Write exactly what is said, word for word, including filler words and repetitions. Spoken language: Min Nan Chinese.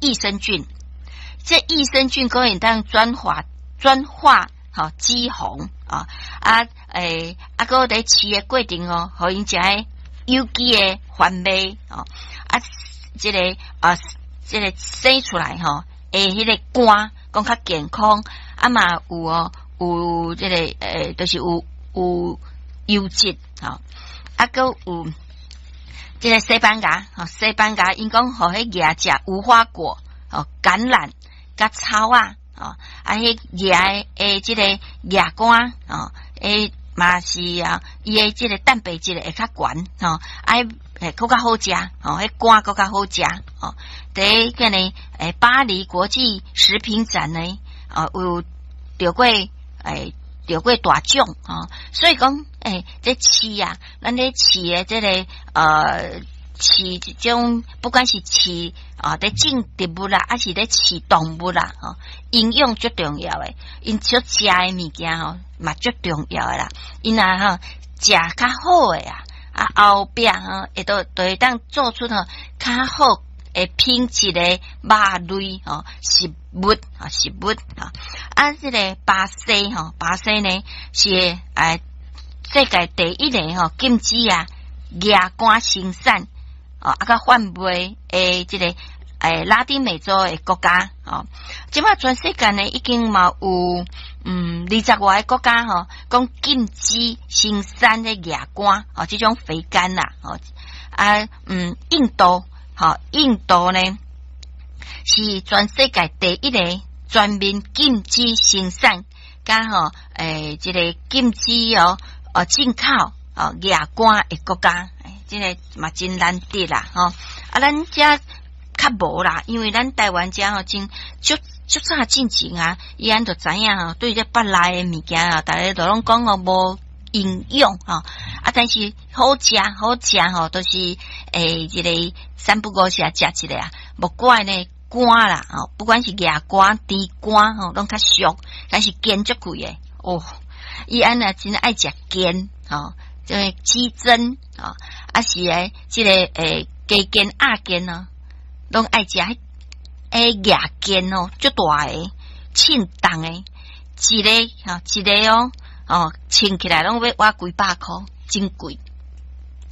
益生菌，這益生菌可以當轉化轉化吼脂肪啊啊欸，啊，閣佇飼的過程哦，予𪜶食的有機的番麥哦啊，這个啊，這个生出來吼，的彼个肝講較健康，啊嘛有哦，有這个欸，就是有有優質吼，啊閣有這个西班牙吼，西班牙𪜶講予彼驛食無花果吼，橄欖佮草仔吼，啊彼驛的這个驛肝吼，欸嘛是啊，伊的這个蛋白質會較懸吼，啊會閣較好食吼，彼肝閣較好食吼。佇彼个欸巴黎國際食品展呢，哦有著過欸著過大獎吼，所以講欸這飼啊，咱咧飼的這个呃飼這種，不管是飼啊佇種植物啦，抑是咧飼動物啦，吼，營養足重要的，𪜶所食的物件吼嘛足重要的啦。𪜶若吼食較好的啊，啊後壁吼會都就會當做出吼較好的品質的肉類吼食物啊食物啊。啊，這个巴西吼，巴西呢是欸世界第一个吼禁止啊驛肝生產哦，啊佮販賣的這个欸拉丁美洲的國家吼。這擺全世界呢已經嘛有嗯二十外个國家吼，講禁止生產的驛肝吼，這種肥肝啦吼啊嗯印度吼，印度呢是全世界第一个全面禁止生產，佮吼欸這个禁止哦哦進口哦驛肝的國家，這个嘛真難得啦吼。啊，咱遮較無啦，因為咱台灣遮吼真足足早進前啊，伊按就知影吼，對這腹內的物件啊，逐家都攏講哦無營養吼，啊，但是好食好食吼，都是欸這个三不五時啊食一下啊，無怪呢肝啦吼，不管是驛肝、豬肝吼，攏較俗，但是煎足貴的哦。伊按呢真愛食煎吼，這个雞胗吼，啊是欸這个欸雞肩、鴨肩哦，攏愛食彼欸驛肩哦，足大个，稱重的，一个吼一个哦，哦稱起來攏欲倚幾百箍，真貴。